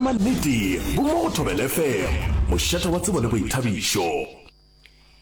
mannete bo mo go Thobela FM, mošate wa tsebo le boithabišo.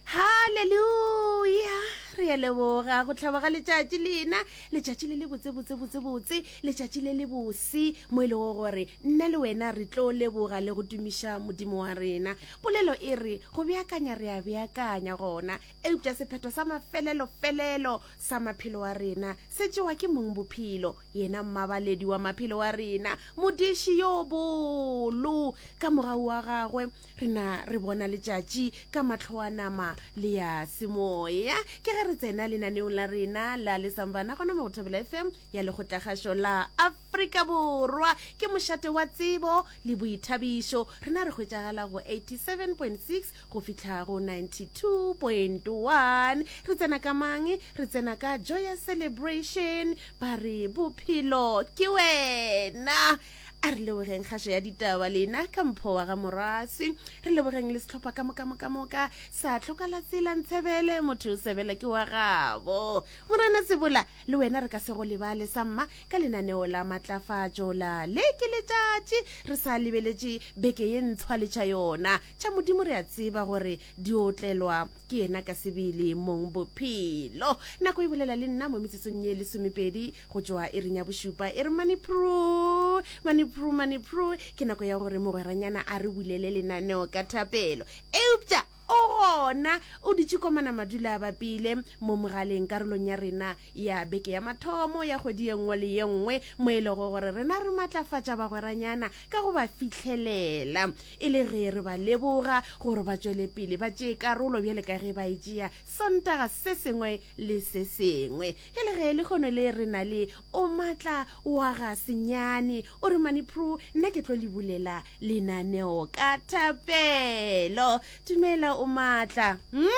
Haleluya! Re a leboga go hlaba ga letšatši lena, letšatši le le botse botse botse botse, letšatši le le bose mo e lego gore nna le wena re tlo leboga le go tumiša Modimo wa rena. Polelo e re go beakanya re a beakanya gona, eupša sephetho sa mafelelo felelo sa maphelo a rena se tšewa ke mong bophelo, yena mmabaledi wa maphelo a rena, modiši yo bolo. Ka mogau wa gagwe Re na re bona letšatši ka mahlo a nama le ya semoya. Ke ge re tsena lenaneong la rena la Lesambana gona mo go Thobela FM ya Lekgotlakgašo la Afrika Borwa. Ke mošate wa tsebo le boithabišo. Rena re hwetšagala go 87.6 go fihla go 92.1. Re tsena ka mang? Re tsena ka Joyous Celebration. Ba re bophelo ke wena. A re lebogeng kgašo ya ditaba lena ka mpho wa ga Morwasi. Re lebogeng le sehlopha ka moka moka moka sa tlhokala tsela ntshebele motho o sebela ke wa gabo. Morena Sebola le wena re ka se go lebale sa mma ka lenaneo la matlafatšo la le ke letšatši re sa lebeletše beke ye ntshwa le tša yona. Tša Modimo re a tseba gore di otlelwa ke yena ka sebele mong bophelo. Nako e bolela le nna mo metsotsong ye lesomepedi go tšwa iring ya bošupa e re manipru manipru manipru ke nako ya gore mogweranyana a re bulele lenaneo ka thapelo eupša o gona o dutše komana madula a bapile mo mogaleng karolong ya rena ya beke ya mathomo ya kgwedi ye nngwe le ye nngwe mo e lego gore rena re matlafatša bagweranyana ka go ba fihlelela e le ge re ba leboga gore ba tšwele pele ba tšee karolo bjale ka ge ba e tšea sontaga se sengwe le se sengwe E le ge lehono le re na le o matla wa ga senyane, o re Mani Pru, nna ke tlo le bulela lenaneo ka thapelo. Dumela o matla. Hm?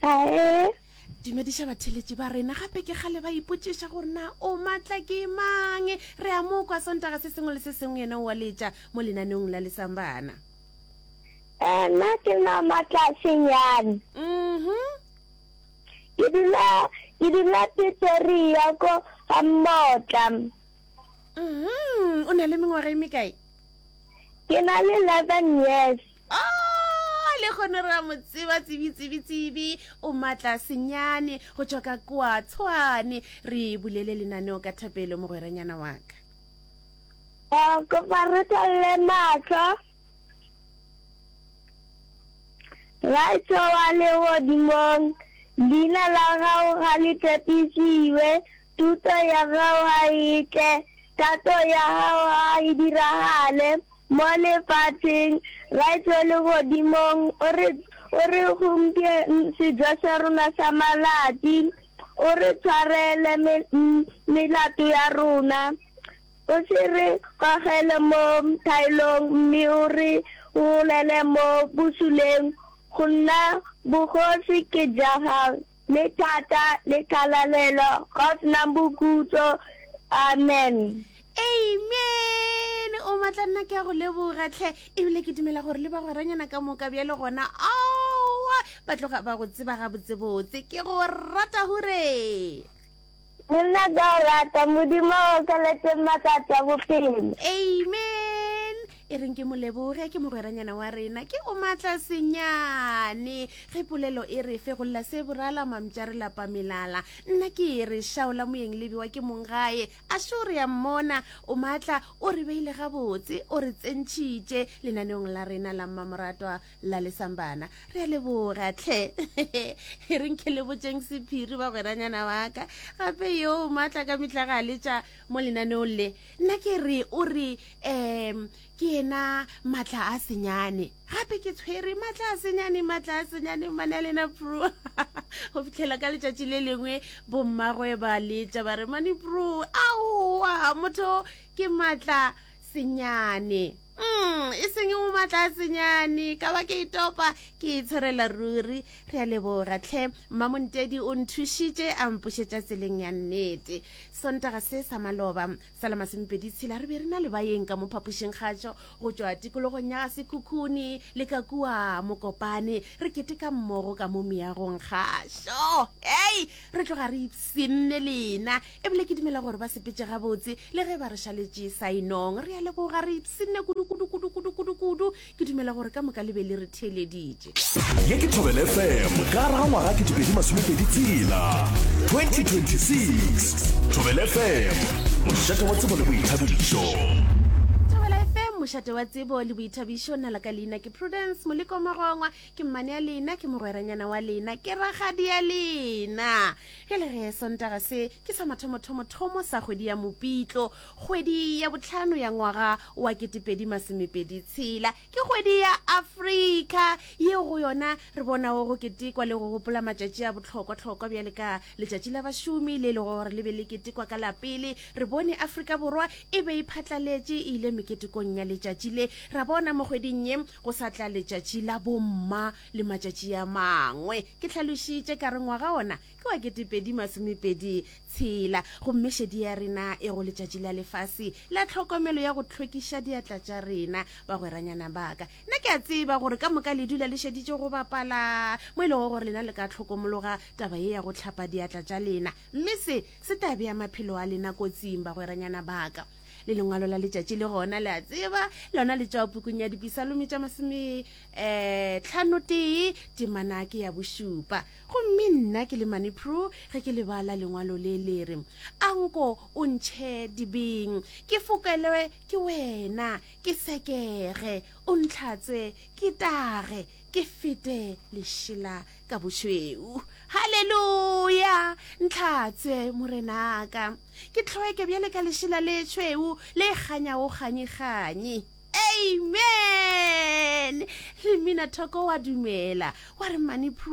Ae. Dumediša batheletši ba rena gape ke kgale ba ipotšiša gore na o matla ke mang. Re a mo kwa Sontaga se sengwe le se sengwe yena o a letša mo lenaneong la Lesambana. Eh, nna ke nna Matla Senyane. Mhm. Ke dula ke dula Pretoria ko ga Mmotla. Mhm, o na le mengwaga e mekae? Ke na le 11 years. Oh, le kgone re a mo tseba tsebi tsebi tsebi o matla senyane go tšwa ka kwa tshwane re bulele lenaneo ka thapelo mogweranyana wa ka. Eh, kopa re tswalele mahlo. Raetsho wa legodimong, leina la gago ga le tshepišiwe, thuto ya gago ga e tle, thato ya gago ga e diragale mo lefatsheng. Raetsho wa legodimong, o re, o re gompien sejo sa rona sa malatsi, o re tshwarele me, melato ya rona. O se re gogele mo thaelong, mme o re golele mo bosuleng, Gonna bogosi ke ja gago, le thata, le kgalalelo, ga o senang bokhutlo. Amen. Amen! O matla nna ke a go leboga tlhe ebile ke dumela gore le bagweranyana ka moka bjale gona aowa ba tloga ba go tseba gabotsebotse ke go rata hure. Le nna ka o rata, Modimo a okeletse matsatsi a bophelo. Amen. E reng ke mo leboge, ke mogweranyana wa rena, ke o matla senyane. Ge polelo e re fegolla se borala mamtša re lapa melala. Nna ke e re šaola moyeng le bewa ke mong gae. A šo re ya mmona, o matla, o re beile gabotse, o re tsentšhitše lenaneong la rena la mmamoratwa la lesambana re a leboga tlhe e reng ke le botšeng sephiri bagweranyana wa ka gape yo maatla ka mehla ga letša mo lenaneong le nna ke re o re um ke yena maatla a senyane gape ke tshwere maatla a senyane maatla a senyane mane a lena pro go fitlhela ka letšatši le lengwe bommagwe ba letša ba re mane pro aowa motho ke maatla senyane Mm, E seng mo matlatsenyane, ka ba ke itopa, ke itshwarela ruri. Re a leboga tlhe. Mmamontedi o nthušitše a mpušetša tseleng ya nnete. Sontaga se sa maloba sa la masomepeditshela re be re na le baeng ka mo phapošing kgatšo go tšwa tikologong ya ga Sekhukhune le ka kua Mokopane. Re keteka mmogo ka mo meagong kgašo. Hei, re tloga re ipshinne lena. Ebile ke dumela gore ba sepetše gabotse le ge ba re šaletše saenong. Re a leboga, re ipshinne kudu kudu kudu kudu kudu kudu. Ke dumela gore ka moka le be le re theeleditše. Ye ke Thobela FM ka gare ga ngwaga 2026, 2026. Thobela FM, mošate wa tsebo le boithabišo. Thobela FM, mošate wa tsebo le boithabišo. Nna la ka leina ke Prudence Moleko Magongwa. Ke mmane ya lena, ke mogweranyana wa lena, ke rakgadi ya lena. Ge le ge Sontaga se ke sa mathomothomo-thomo sa kgwedi ya Mopitlo, kgwedi ya bohlano ya ngwaga wa 2026. Ke kgwedi ya Afrika yeo go yona re bonago go ketekwa le go gopola matšatši a bohlokwa-hlokwa bjale ka Letšatši la Bašomi le e lego gore le be le ketekwa ka la pele. Re bone Afrika Borwa e be e phatlaletše e ile meketekong ya letšatši le. Ra bona mo kgweding ye go sa tla Letšatši la Bomma le matšatši a mangwe. Ke hlalošitše ka re ngwaga ona ke wa 2026 gomme šedi ya rena e go Letšatši la Lefase la Tlhokomelo ya go Hlwekiša Diatla tša Rena. Bagweranyana ba ka, nna ke a tseba gore ka moka le dula le šeditše go bapala mo e lego gore lena le ka hlokomologa taba ye ya go hlapa diatla tša lena, mme se se tla bea maphelo a lena kotsing, bagweranyana ba ka. Le lengwalo la letšatši le gona, le a tseba, lona le tšwa pukung ya Dipisalome tša masome eh, tlhanotee, temana ke ya bošupa. Gomme nna ke le Mane Prue ge ke le bala lengwalo le le re, Anko o ntšhe dibeng, ke fokelwe ke wena, ke sekege, o ntlhatswe, ke tage, ke fete lešela ka bošweu. Haleluya! Ntlhatswe, Morenaka, ke hlweke bjale ka lešela le tšhweu le kganyago kganyi-kganyi. Amen! Le Mina Thoko wa dumela, wa re Mane Prue.